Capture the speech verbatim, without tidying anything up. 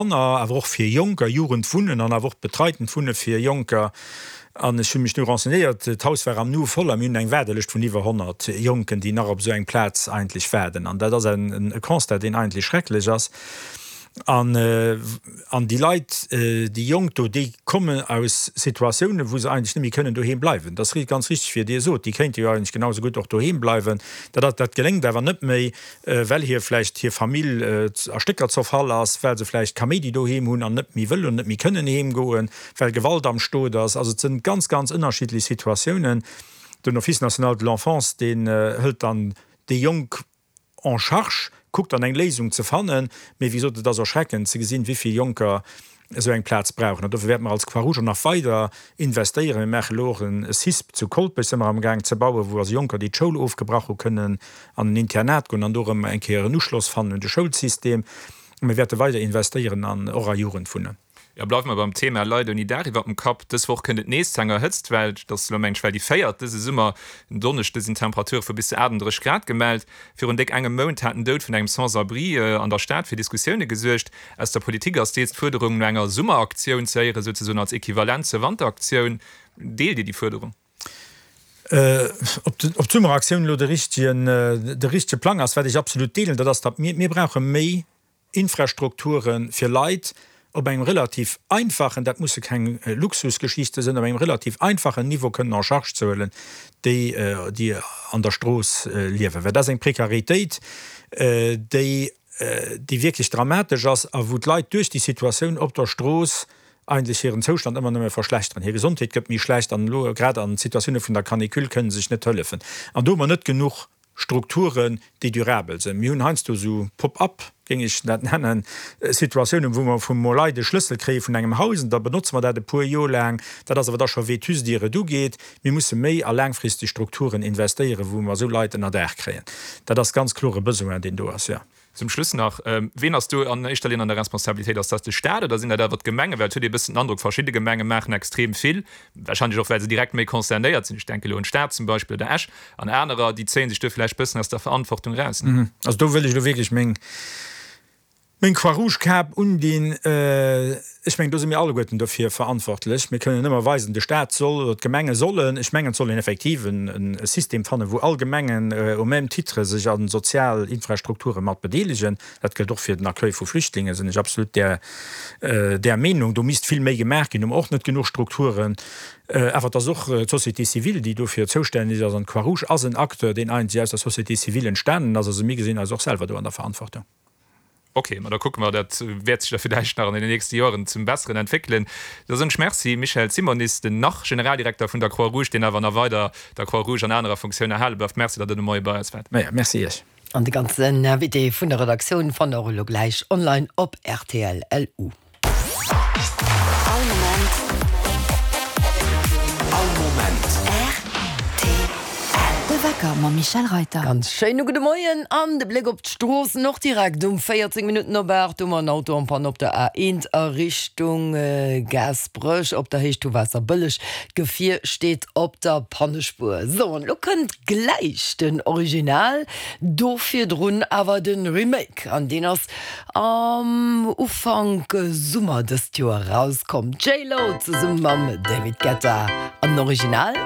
Kanner, awer och fir Jonker, Jugendwunnen an awer och betreiten Wunne fir Jonker. An ech hu mech du renseignéiert, d'Haus war am Nu voll a mir hunn eng Waardelëscht vun iwwer honnert Jonken, déi nach op esou eng Plaz eigentlech waarden. An dat ass en Constat, deen eigentlech schrecklech ass. An, an déi Leit, déi Jonk do, déi kommen aus Situatiounen, wou se eigentlech net méi kënnen doheem bleiwen. Dat ass ganz richteg, wéi Dir sot, déi kéinte jo eigentlech genau esou gutt och doheem bleiwen. Dat, dat geléngt awer net méi, well hir vläicht hir Famill a Stécker zerfall ass, well se vläicht Kaméidi doheem hunn an net méi wëllen, net méi kënnen heem goen, well Gewalt am Stot ass. Also et sinn ganz, ganz ënnerschiddlech Situatiounen. Den Office national de l'enfance, deen hëlt dann déi Jonk en charge, kuckt dann eng Léisung ze fannen, mee wéi gesot, et ass erschreckend ze gesinn, wéi vill Jonker esou eng Plaz brauchen. An dofir wäerte mer als Croix-Rouge och nach weider investéieren. Mir maache elo och e CISP zu Kolpech, si mer amgaang ze bauen, wou also Jonker, déi d'Schoul ofgebrach hu kënnen an en Internat goen an do erëm eng Kéier en Uschloss fannen un de Schoulsystem. Mir wäerte weider investéieren an och a Jugendwunnen. Jo, bleiwe mer beim Thema Leit ouni Daach iwwer dem Kapp. Dës Woch kënnt et nees zu enger Hëtztwell. Dat ass elo, mengen ech, well déi véiert dëse Summer. En Donneschde sinn Temperature vu bis zu aachtenddrësseg Grad gemellt. Virun déck engem Mount hat den Doud vun engem Sans-abri an der Stad fir Diskussioune gesuergt. Aus der Politik ass deels d'Fuerderung no enger Summeraktioun ze héieren, souzesoen als Equivalent zur Wanteraktioun. Deelt Dir déi Fuerderung? Ob d'Summeraktioun elo de richtegen, de richtege Plang ass, wat ech absolut deelen, dat ass, datt mir, mir brauche méi Infrastrukture fir Leit op engem relativ einfachen, dat musse keng Luxusgeschichte sinn, op engem relativ einfachen Niveau kënnen en charge ze huelen, déi, déi an der Strooss liewen. Well dat ass eng Prekaritéit, déi, déi wierklech dramatesch ass a wou d'Leit duerch déi Situatioun op der Strooss eigentlech hiren Zoustand ëmmer nëmme verschlechteren. Hir Gesondheet gëtt méi schlecht an elo grad an Situatioune vun der Canicule kënne se sech net hëllefen. An do hu mer net genuch Strukturen, déi durabel sinn. Mir hunn heiansdo esou Pop-up, géing ech dat nennen, Situatiounen, wou mer vum Leit e Schlëssel kréie vun engem Haus an da benotze mer dat e puer Joer laang. Dat ass awer da scho vétuste, ier et ugeet. Mir musse méi a laangfristeg Strukturen investéieren, wou mer esou Leit ënner Daach kréien. Dat ass ganz kloer e Besoin, deen do ass, jo. Zum Schluss nach, Ween ass do an éischter Linn an der Responsabilitéit? Ass dat de Staat oder sinn dat awer d'Gemengen? Well et huet ee bëssen den Androck, verschidde Gemenge maachen extrem vill, warscheinlech och well se direkt méi concernéiert sinn, ech denke elo un d'Stad zum Beispill oder Esch, an anerer, déi zéie sech do vläicht bëssen aus der Verantwortung eraus. Also do wëll ech elo wierklech meng Meng Croix-Rouge-Kap undinn. Ech mengen, do si mir alleguerten dofir verantwortlech. Mir kënnen ëmmer weisen, de Staat soll oder d'Gemenge sollen. Ech mengen, et soll een effektiv e System fannen, wou all Gemengen au même titre sech a sozial Infrastrukture mat bedeelegen. Dat gëllt och fir den Accueil vu Flüchtlingen, sinn ech absolut där där Meenung. Do misst vill méi gemaach ginn. Do hu mer och net genuch Strukturen. Awer et ass och d'Société civile, déi dofir zoustänneg ass. An d'Croix-Rouge ass en Acteur, deen eigentlech aus der Société civile entstanen ass. Also mir gesinn eis och selwer do an der Verantwortung. Ok, ma da kucke mer, dat wäert sech da villäicht nach an den nächste Joren zum Besseren entwéckelen. Da soen ech Merci, Michel Simonis, den Nach-Generaldirekter vun der Croix-Rouge, deen awer nach weider der Croix-Rouge an anerer Funktioun erhale bleift. Merci, datt Der de Moie bei eis waart. Maja, merci Iech. An de ganzen Invité vun der Redaktioun fannt der och elo gläich online op rtl. Lu. All Moment. All Moment. Rtl. De Wecker mam Michèle Reyter. Ganz schéine gudde Moien an de Bléck op d'Stroossen och direkt um véierzéng Minutten op aacht hu mer en Auto en panne op der A eent a Richtung Gaasperech op der Héicht vu Waasserbëlleg. D'Gefier steet op der Pannespuer. Sou, an elo kënnt gläich den Original, do virdrun awer de Remake an deen ass am Ufank Summer dëst Joer erauskomm. D'J-Lo zesumme mam David Guetta an den Original.